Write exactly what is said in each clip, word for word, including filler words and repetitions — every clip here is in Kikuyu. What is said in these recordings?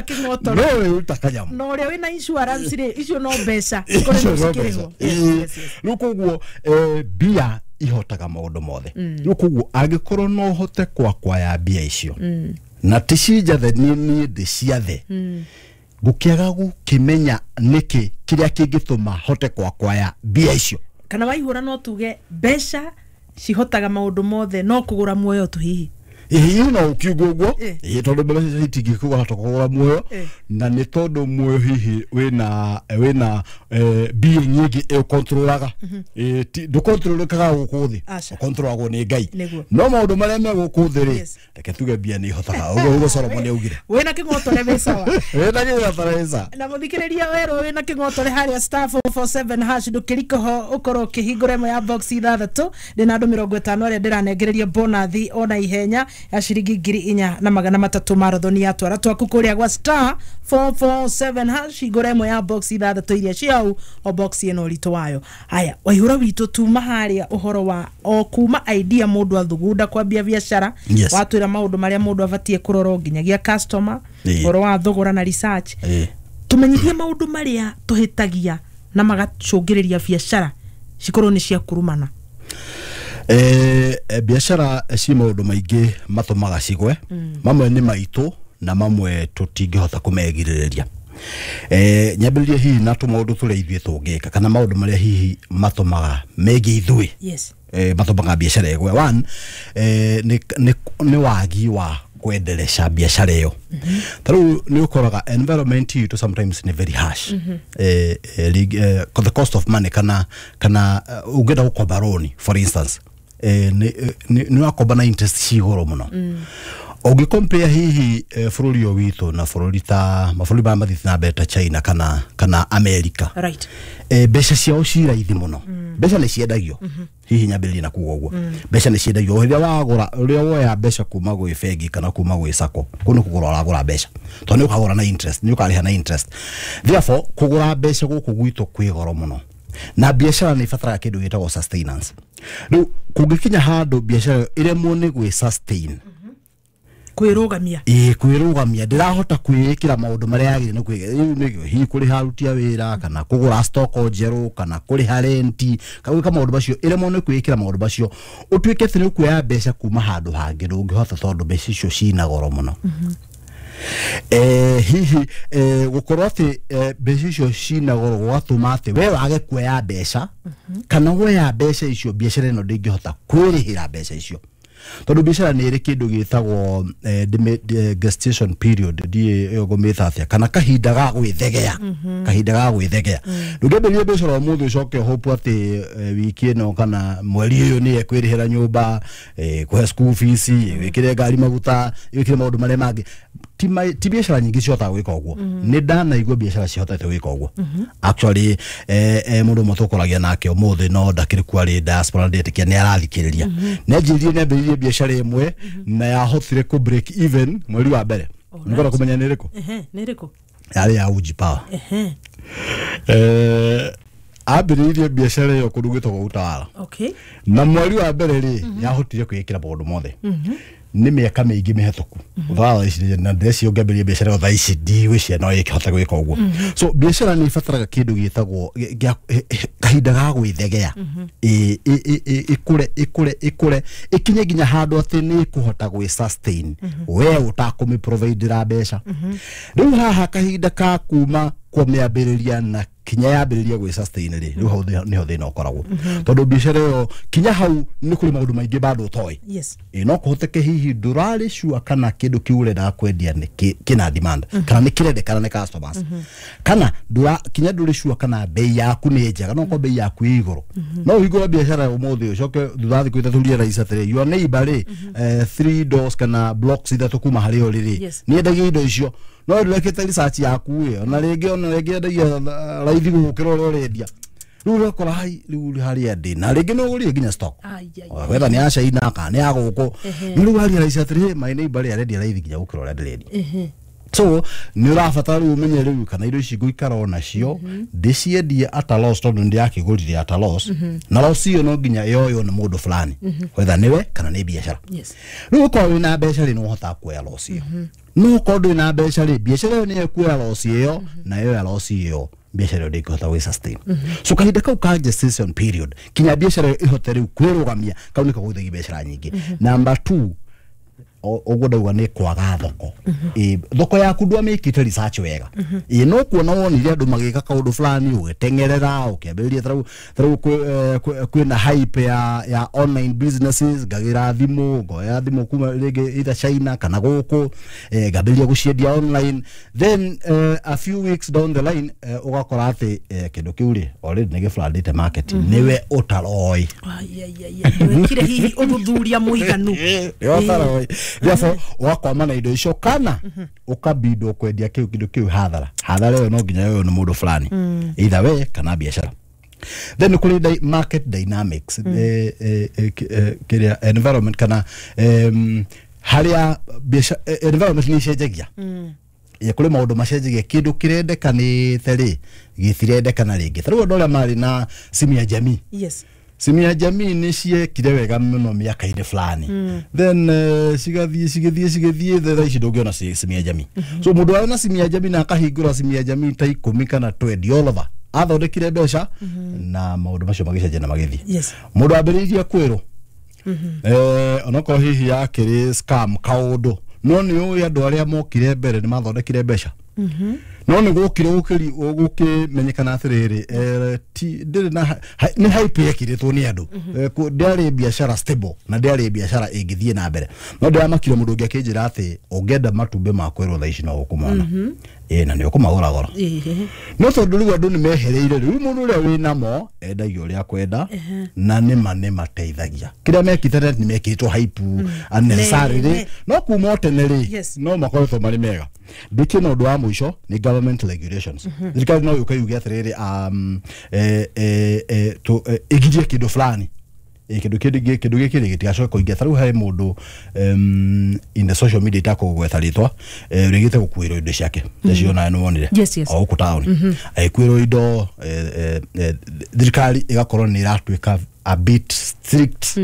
Kĩng'otore. No wĩruta kanyamũ. Na ũrĩa wĩna insurance rĩ, icio no mbeca. Icio Ikorwo no cikĩrĩhwo. mbeca. Ĩĩ. Rĩu koguo eh, mbia ihotaga maũndũ mothe. Rĩu koguo angĩkorwo no ũhote kwakwaya mbia icio na ti cinjathe, niĩ niĩ ndĩciathe, ngũkĩaga gũkĩmenya nĩkĩ kĩrĩa kĩngĩtũma hote kwakwaya mbia icio. Kana waihũra no tuge mbeca cihotaga maũndũ mothe no kũgũra muoyo tu hihi? Ĩĩ, no ũkiuga ũguo. Eh. Ĩĩ, tondũ mbeca itingĩkũhota kũgũra muoyo. Eh. Na nĩ tondũ muoyo hihi wĩna wĩna eh, being ĩngĩ ĩũkontrolaga. Ndũkontrolekaga gũkũ thĩ. Aca. Ũkontrolagwo nĩ Ngai. Nĩguo. No maũndũ marĩa me gũkũ thĩ rĩ, Yes. reke tuge mbia nĩ ihotaga ũguo, ũguo Solomon augire. Wĩna kĩng'otore wĩ sawa. Wĩna gĩgatarĩca. Na mũthikĩrĩria werwo wĩna kĩng'otore harĩa star four four seven hash, ndũkĩrikoho ũkorwo ũkĩhingũra ĩmwe ya box ithathatũ. Ndĩna andũ mĩrongo ĩtano arĩa ndĩranengereria bonathi ona ihenya ya ciringi ngiri inya na magana matatũ marathoni ya twara twaku kũrĩa gwa star four four seven hash, hingũra ĩmwe ya box ithathatũ iria ciau, o box ĩno ũritũ wayo. Haya, Waihũra witũ, tuma harĩa ũhoro wa o kuma idea mũndũ athugunda kwambia biacara. Yes. Watwĩra maũndũ marĩa mũndũ abatie kũrora nginyagia customer, Ĩĩ. ũhoro wa thogora na research. Ĩĩ. Tumenyithie maũndũ marĩa tũhĩtagia na magacũngĩrĩria biacara cikorwo nĩ cia kurumana. Eh, eh, biacara ci maũndũ maingĩ matũmaga cigwe. Mamwe nĩ maitũ na mamwe tũtingĩhota kũmegirĩrĩria. eh, nyambĩrĩrie hihi na tũmaũndũ tũrĩa ithuĩ tũngĩka kana maũndũ marĩa hihi matũmaga megiĩ ithuĩ yes eh, matũmaga biacara ĩgwe. One, eh, nĩ, nĩ, nĩ wagi wa kwenderesha biacara ĩyo. Ta rĩu nĩ ũkoraga environment itũ sometimes nĩ very harsh. eh, eh, rig- eh, the cost of money, kana kana uh, ũngĩenda gũkomba loan, for instance, eh, nĩ nĩ nĩ wakomba na interest ci igũrũ mũno ũngĩcompare hihi eh, bũrũri ũyũ witũ na bũrũri ta mabũrũri marĩa mathiĩte na mbere ta China kana kana America. Right eh, mbeca ciao ci raithi mũno. Mbeca nĩ ciendagio. Hihi nyambĩrĩrie na kuga ũguo, mbeca nĩ ciendagio. Rĩrĩa wagũra, rĩrĩa woya mbeca kuma gwĩ bengi kana kuma gwĩ sacco, kũu nĩ kũgũra ũragũra mbeca, tondũ nĩ ũkagũra na interest, nĩ ũkarĩha na interest. Therefore, kũgũra mbeca gũkũ gwitũ kwĩ goro mũno, na biacara nĩ ibataraga kĩndũ gĩtagwo sustenance. Rĩu kũngĩkinya handũ biacara ĩyo ĩremwo nĩ gwĩ sustain, kwĩrũgamia. Ĩĩ, kwĩrũgamia, ndĩrahota kwĩĩkĩra maũndũ marĩa yagĩrĩire nĩ kwĩ rĩu nĩ hihi kũrĩha aruti a wĩra kana kũgũra stock njerũ kana kũrĩha renti kana gwĩka maũndũ macio, ĩremwo nĩ kwĩĩkĩra maũndũ macio, ũtuĩke atĩ nĩ ũkuoya mbeca kuma handũ hangĩ, ndũngĩhota tondũ mbeca icio cina goro mũno. eh, hihi eh, gũkorwo atĩ eh, mbeca icio cina goro gũgatũma atĩ we wage kuoya mbeca, kana woya mbeca icio, biacara ĩno ndĩngĩhota kwĩrĩhĩra mbeca icio, tondũ biacara nĩ ĩrĩ kĩndũ gĩtagwo eh, ndĩmĩ- eh, gestation period, ndiĩ ĩyo ngũmĩta atĩa, kana kahinda ga gwĩthegea, kahinda ga gwĩthegea. Ndũngĩambĩrĩria biacara ũmũthĩ ũcoke hope atĩ eh, wiki ĩno kana mweri ũyũ nĩ ekwĩrĩhĩra nyũmba, eh, kũhe school fees, wĩkĩre ngari maguta, wĩkĩre maũndũ marĩa mangĩ. Ti ma- ti biacara nyingĩ cihotaga gwĩka ũguo. Nĩ ndanaigua biacara cihotete gwĩka ũguo. Actually, eh, eh, mũndũ ũmwe tũkoragia nake ũmũthĩ no ndakĩrĩ kuo, arĩ diaspora, ndetĩkia nĩ arathikĩrĩria, nĩ anjĩrire nĩ ambĩrĩirie biacara ĩmwe na yahotire kũ break even mweri wa mbere. Nĩngwenda kũmenya nĩ ĩrĩkũ? Ehe, nĩ ĩrĩkũ? Yarĩ ya Uji Power. Ehe. eh, ambĩrĩirie biacara ĩyo kũndũ gwĩtagwo Utawala, okay na mweri wa mbere rĩ, yahotire kwĩĩkĩra maũndũ mothe. Nĩ mĩaka mĩingĩ mĩhetũku. Thaa ici na ndĩreciria ũngĩambĩrĩria biacara ĩyo thaa ici, ndigwĩciria no ĩkĩhote gwĩka ũguo. So biacara nĩ ibataraga kĩndũ gĩtagwo gĩ- gĩa- kahinda ga gwĩthegea. Ĩ- ĩ- ĩ- ĩ- ĩkũre ĩkũre ĩkũre ĩkinye nginya handũ atĩ nĩ ĩkũhota gwĩ sustain we ũtakũmĩ providera mbeca. Rĩu haha kahinda ka kuma kũmĩambĩrĩria na kinya yambĩrĩria gwĩ sustain rĩ, rĩu hau thĩ- nĩho thĩna ũkoragwo, tondũ biacara ĩyo kinya hau nĩ kũrĩ maũndũ maingĩ bado ũtoĩ. Yes Ĩ, no kũhoteke hihi ndũrarĩ sure kana kĩndũ kĩu ũrenda kwendia nĩ kĩ- kĩna demand kana nĩ kĩrendekana nĩ customers, kana ndũra kinya ndũrĩ sure kana bei yaku nĩ njega. No korwo bei yaku ĩ igũrũ, no ũhingũre biacara ũmũthĩ, ũcoke thutha wa thikũ ithatũ realize atĩrĩ, your neighbor rĩ, eh, three doors kana blocks ithatũ kuma harĩa ũrĩ rĩ, Yes. nĩ endagia indo icio, no ndũrekĩte research yaku ĩ, ona rĩngĩ ona rĩngĩ endagia uh, raithi gũkĩra ũrĩa ũrendia. Rĩu ũgakora hai rĩu harĩa ndĩ na rĩngĩ no ũgũrire nginya stock Ai, ai, whether nĩ ya China kana nĩ ya gũkũ, Ehe. no rĩu waria realize atĩrĩ, my neighbor rĩ, arendia raithi nginya gũkĩra ũrĩa ndĩrendia. Ehe. So nĩ ũrabatara rĩu ũmenye rĩu kana indo ici ngũikara o nacio ndĩciendie at a loss, tondũ ndĩrakĩgũrire at a loss, na loss ĩyo no nginya ĩyoywo nĩ mũndũ fulani, whether nĩwe kana nĩ biacara. Yes. Rĩu ũkorwo wĩna mbeca rĩ, nĩ ũhotaga kuoya loss ĩyo, no ũkorwo ndũrĩ na mbeca rĩ, biacara ĩyo nĩyo ĩkuoya loss ĩyo, na yoya loss ĩyo biacara ĩyo ndĩngĩhota gwĩ sustain. So kahinda kau ka gestation period kinya biacara ĩyo ĩhote rĩu kwĩrũgamia, kau nĩko gũithagia biacara nyingĩ. Number two, o- ũguo ndauga nĩ kwaga thoko. Ĩ, thoko yaku ndwamĩkĩte research wega. Ĩ, no kuona wonire andũ magĩka kaũndũ fulani, ũgĩteng'erera ũkĩambĩrĩria. Tarĩu tarĩu kwĩ- eh, kwĩ- kwĩna hype ya ya online businesses, ngagĩra thimũ, ngoya thimũ kuma rĩngĩ either China kana gũkũ, eh, ngambĩrĩria gũciendia online. Then eh, a few weeks down the line, eh, ũgakora atĩ eh, kĩndũ kĩu rĩ already nĩ gĩblandĩte market, nĩwe ũtaroĩ. Ai, ai, ai, ai, ndwekire hihi ũthuthuria mũiganu. Nĩwe ũtaroĩ, therefore ũgakwama na indo icio kana ũkabindwo kwendia kĩu kĩndũ kĩu hathara. Hathara ĩyo no nginya yoywo nĩ mũndũ fulani, either we kana biacara. Then kũrĩ di market dynamics, eh, eh, eh, ki- eh, kĩrĩa environment kana em, harĩa biacara eh, environment nĩ icenjagia. Ĩ, kũrĩ maũndũ macenjagia, kĩndũ kĩrendekanĩte rĩ gĩtirendekana rĩngĩ. Ta rĩu andũ arĩa marĩ na simu ya jamii, yes simu ya jamii nĩ ciekire wega mũno mĩaka-inĩ fulani, then uh, cigathiĩ cigĩthiĩ cigĩthiĩ, thaa ici ndũngĩona ci- simu ya jamii. So mũndũ arĩ na simu ya jamii na akahingũra simu ya jamii ta ikũmi kana twenty all over, athondekire mbeca na maũndũ macio magĩcenjia na magĩthiĩ. Yes. Mũndũ ambĩrĩirie kwĩrwo eh, onokorwo hihi yakĩrĩ scam kaũndũ, no nĩ ũĩ andũ arĩa mokire mbere nĩ mathondekire mbeca, no nĩ gũkire gũkĩri gũkĩmenyekana atĩrĩrĩ, eh, ti ndĩrĩ na ha- nĩ hype yekĩrĩtwo nĩ andũ. Eh, kũ- ndĩarĩ biacara stable na ndĩarĩ biacara ĩngĩthiĩ na mbere. No ndĩramakire mũndũ ũngĩ akĩnjĩra atĩ ũngĩenda matumbĩ ma kwĩrwo thaa ici no ũkũmona, ĩ, na nĩ ũkũmagũra goro. Ĩĩ. No tondũ rĩu andũ nĩ mehereire, rĩu mũndũ ũrĩa wĩ namo endagia ũrĩa akwenda, na nĩma nĩ mateithagia kĩrĩa mekĩte nĩ mekĩrĩtwo hype unnecessarily. Ne- No kuma o tene rĩ, Yes. no makoretwo marĩ mega. Ndĩkie na ũndũ wa mũico nĩ government regulations. Thirikari no yũke yuge atĩrĩrĩ, um, eh, eh, eh, tũ- eh, ĩgirie kĩndũ fulani. Ĩ, kĩndũ kĩndũ kĩndũ gĩkĩ rĩ gĩtigacoke kũingĩra. Ta rĩu harĩ mũndũ um, in the social media itakũgweta rĩtwa, eh, ũrĩgĩte gũkuĩrwo indo ciake icio nawe nĩ wonire Yes, yes. o gũkũ taũni, agĩkuĩrwo indo. eh, eh, eh, thirikari ĩgakorwo nĩ ĩratuĩka a bit strict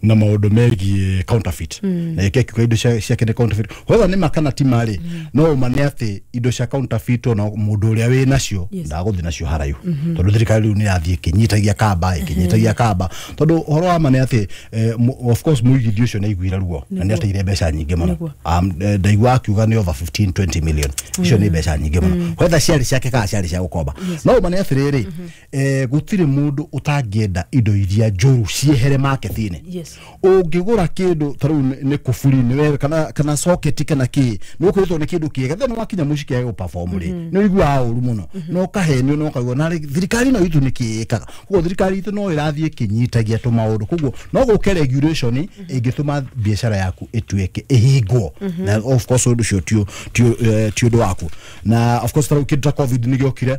na maũndũ megiĩ counterfeit, na ĩke kiuga indo cia- ciake nĩ counterfeit, whether nĩ ma kana ti ma rĩ, no ũma nĩ atĩ indo cia counterfeit ona mũndũ ũrĩa wĩ nacio Yes. ndagũthiĩ nacio haraihu, tondũ thirikari rĩu nĩ ĩrathiĩ ĩkĩnyitagia kamba ĩkĩnyitagia kamba, tondũ ũhoro wa ma nĩ atĩ eh, mu- of course mũigithia ũcio nĩ aiguire ruo na nĩ ateire mbeca nyingĩ mũno. Nĩguo. Um, eh, ndaigua akiuga nĩ over fifteen twenty million. Icio nĩ mbeca nyingĩ mũno, whether ciarĩ ciake kana ciarĩ cia gũkomba. No ũma nĩ atĩrĩrĩ, eh, gũtirĩ mũndũ ũtangĩenda indo iria njũru ciehere market-inĩ. Yes. Ũngĩgũra kĩndũ ta rĩu nĩ- nĩ kuburi nĩwe kana kana socket kana kĩ, nĩ ũkwĩrĩtwo nĩ kĩndũ kĩega, then wakinya mũciĩ kĩage gũperform rĩ, nĩ ũiguaga ũru mũno na ũkahenio na ũkaigua na thirikari ĩno itũ nĩ kĩ ĩkaga. Koguo thirikari itũ no ĩrathiĩ ĩkĩnyitagia tũmaũndũ, koguo no gũke regulation ĩngĩtũma biacara yaku ĩtuĩke ĩhingwo, na of course ũndũ ũcio ti ti eh, ti ũndũ waku. Na of course ta rĩu kĩndũ ta COVID nĩ gĩokire.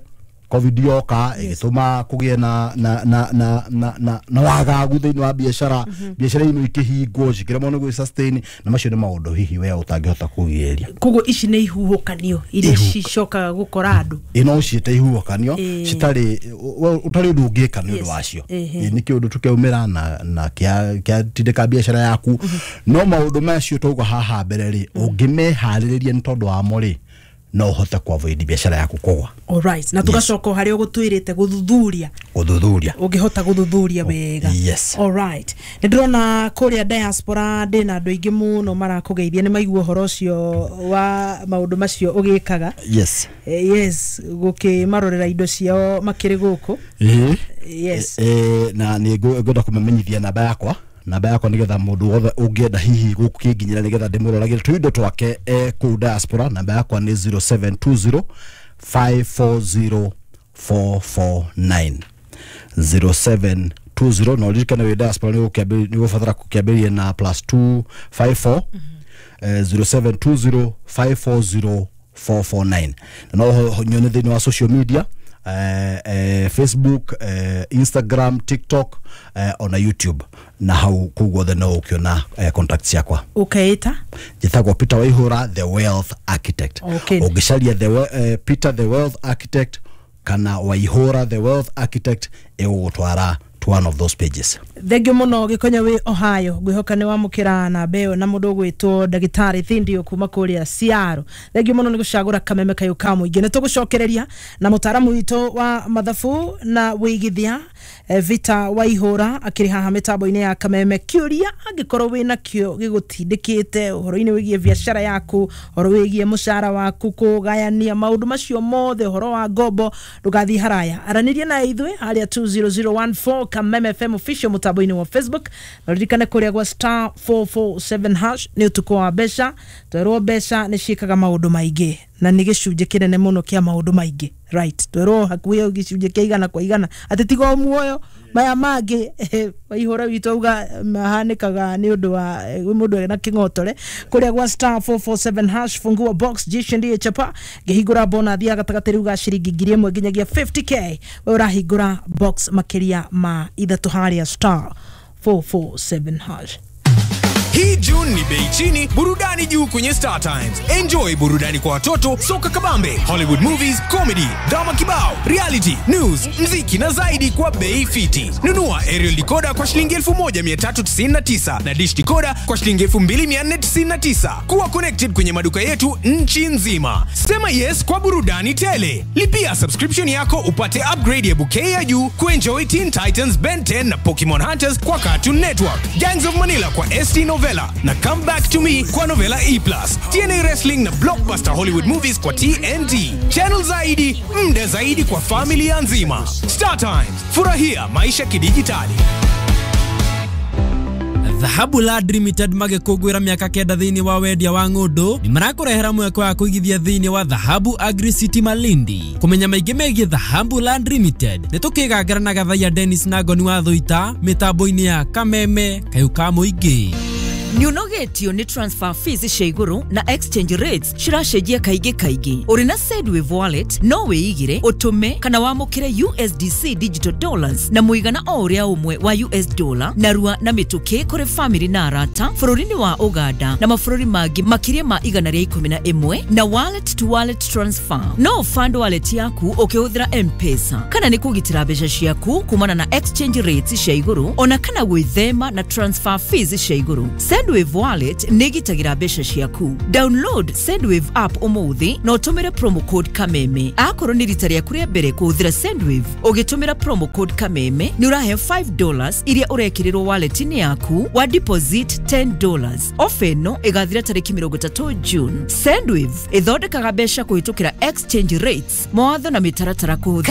COVID yoka ĩgĩtũma kũgĩe na na na na na na, na wagagu thĩinĩ wa biacara, biacara imwe ikĩhingwo cikĩremwo nĩ gwĩ sustain, na macio nĩ maũndũ hihi we ũtangĩhota kũgirĩrĩria. Koguo ici nĩ ihuhũkanio iria Ihuhũka- cicokaga gũkora andũ. Ĩno ciĩte ihuhũkanio Ĩĩ. citarĩ we- ũtarĩ ũndũ ũngĩka nĩ ũndũ Yes. wacio. Ĩhĩ. Ĩ, nĩ kĩũndũ tũkĩaumĩra na na kĩa kĩatindĩka biacara yaku, no maũndũ macio twauga haha mbere rĩ, ũngĩmeharĩrĩria nĩ tondũ wamo rĩ, no ũhote ku avoid biacara yaku kũgwa. Alright, na tugacoka o harĩa ũgũtwĩrĩte gũthuthuria. Gũthuthuria. Ũngĩhota gũthuthuria wega. Yes. Alright, nĩ ndĩrona kũrĩa diaspora ndĩna andũ aingĩ mũno marakũgeithia, nĩ maigua ũhoro ũcio wa maũndũ macio ũgĩkaga. Yes. Eh, yes, gũkĩmarorera indo ciao makĩrĩ gũkũ. Ĩĩ. Yes. Eh, na nĩ ngũ- ngwenda kũmamenyithia namba yakwa namba yakwa nĩgetha mũndũ wothe ũngĩenda hihi gũkĩnginyĩra nĩgetha ndĩmũroragĩre tũindo twake eh, kũu diaspora. Namba yakwa nĩ zero seven two zero five four zero four four nine, zero seven two zero. Na ũririkane wĩ diaspora nĩ ũgũkĩambĩrĩria- nĩ ũgũbatara gũkĩambĩrĩria na plus two five four, eh, zero seven two zero five four zero four four nine. Na no ho- nyone thĩinĩ wa social media, eh, eh, Facebook, eh, Instagram, TikTok, eh, ona YouTube. Na hau kũu guothe no ũkĩona eh, contact ciakwa. Ũkeĩta? Njĩtagwo Peter Waihura, the wealth architect. Okay. Ũngĩcaria the, we- eh, Peter the wealth architect kana Waihura the wealth architect, ĩgũgũtwara to one of those pages. Thengio muno Gĩkonyo wĩ Ohio, ngwĩhoka nĩ wamũkĩra namba ĩyo na mũndũ ũgwĩtwo ndagĩtarĩ Thindio kuma kũrĩa Ciaro. Thengio mũno nĩ gũcagũra Kameme kayũ ka mũingĩ. Nĩ tũgũcokereria na mũtaaramu witũ wa mathabu na wĩigithia, eh, Vita Waihũra, akĩrĩ haha mĩtambo-inĩ ya Kameme. Kĩũria angĩkorwo wĩna kĩo gĩgũtindĩkĩte ũhoro-inĩ wĩgiĩ biacara yaku, ũhoro wĩgiĩ mũcara waku, kũgayania maũndũ macio mothe, ũhoro wa ngombo, ndũgathiĩ haraya, aranĩria na ithuĩ harĩa two zero zero one four Kameme F M official mũtambo-inĩ wa Facebook. Na ririkane kũrĩa gwa star four four seven hash nĩ ũtukũ wa mbeca. Twerwo mbeca nĩ ciĩkaga maũndũ maingĩ na nĩ gĩcunjĩ kĩnene mũno kĩa maũndũ maingĩ, right? Twerwo hakuhĩ gĩcunjĩ kĩa igana kwa igana, atĩ tiga o muoyo, maya mangĩ Waihũra witũ auga mahanĩkaga nĩ ũndũ wa eh, mũndũ ena kĩng'otore. Kũrĩa gwa star four four seven hash, fungua box, jishindie chapa. Ngĩhingũra bonathi ya gatagatĩ rĩu ga ciringi ngiri ĩmwe nginyagia fifty k, we ũrahingũra box makĩria ma ithatũ harĩa star four four seven hash. Hii June ni bei chini, burudani juu kwenye Star Times. Enjoy burudani kwa watoto, soka kabambe, Hollywood movies, comedy, drama kibao, reality, news, mziki na zaidi kwa bei fiti. Nunua aerial decoder kwa shilingi elfu moja mia tatu tisini na tisa na dish decoder kwa shilingi elfu mbili mia nne tisini na tisa. Kuwa connected kwenye maduka yetu nchi nzima. Sema yes kwa burudani tele. Lipia subscription yako upate upgrade ya bouquet ya juu kuenjoy Teen Titans, Ben ten na Pokemon Hunters kwa Cartoon Network, Gangs of Manila kwa S T Novella na Come Back to Me kwa Novella E plus, T N A Wrestling na Blockbuster Hollywood Movies kwa T N T. Channel zaidi, mda zaidi kwa familia nzima. Star Times, furahia maisha kidijitali. Dhahabu Land Limited magĩkũngũĩra mĩaka kenda thĩinĩ wa wendia wa ng'ũndũ nĩ marakũrehera mweke wa kũigithia thĩinĩ wa Dhahabu Agri City Malindi. Kũmenya maingĩ megiĩ Dhahabu Land Limited, nĩ tũkĩgangara na Gathaiya Dennis na Ngoni wa Thũita mĩtambo-inĩ ya Kameme kayũ ka mũingĩ. Nĩũnogetio nĩ transfer fees cia igũrũ na exchange rates ciracenjia kaingĩ kaingĩ? Ũrĩ na Sendwave Wallet no wĩigire, ũtũme kana wamũkĩre U S D C digital dollars na mũigana o ũrĩa ũmwe wa U S dollar narua na mĩtũkĩ kũrĩ family na arata bũrũri-inĩ wa Uganda na mabũrũri mangĩ makĩria ma igana rĩa ikũmi na ĩmwe na wallet to wallet transfer. No fund wallet yaku ũkĩhũthĩra M-Pesa, kana nĩ kũgitĩra mbeca ciaku kumana na exchange rates cia igũrũ ona kana gwĩthema na transfer fees cia igũrũ. Sendwave Wallet nĩ ĩgitagĩra mbeca ciaku. Download Sendwave app ũmũthĩ na ũtũmĩre promo code Kameme. Akorwo nĩ rita rĩaku rĩa mbere kũhũthĩra Sendwave, ũgĩtũmĩra promo code Kameme nĩ ũrahe five dollars iria ũrekĩrĩrwo wallet-inĩ yaku wa deposit ten dollars. Ofa ĩno ĩgathira tarĩki mĩrongo ĩtatũ June. Sendwave ĩthondekaga mbeca kũhĩtũkĩra exchange rates. Mawatho na mĩtaratara kũhũthĩra.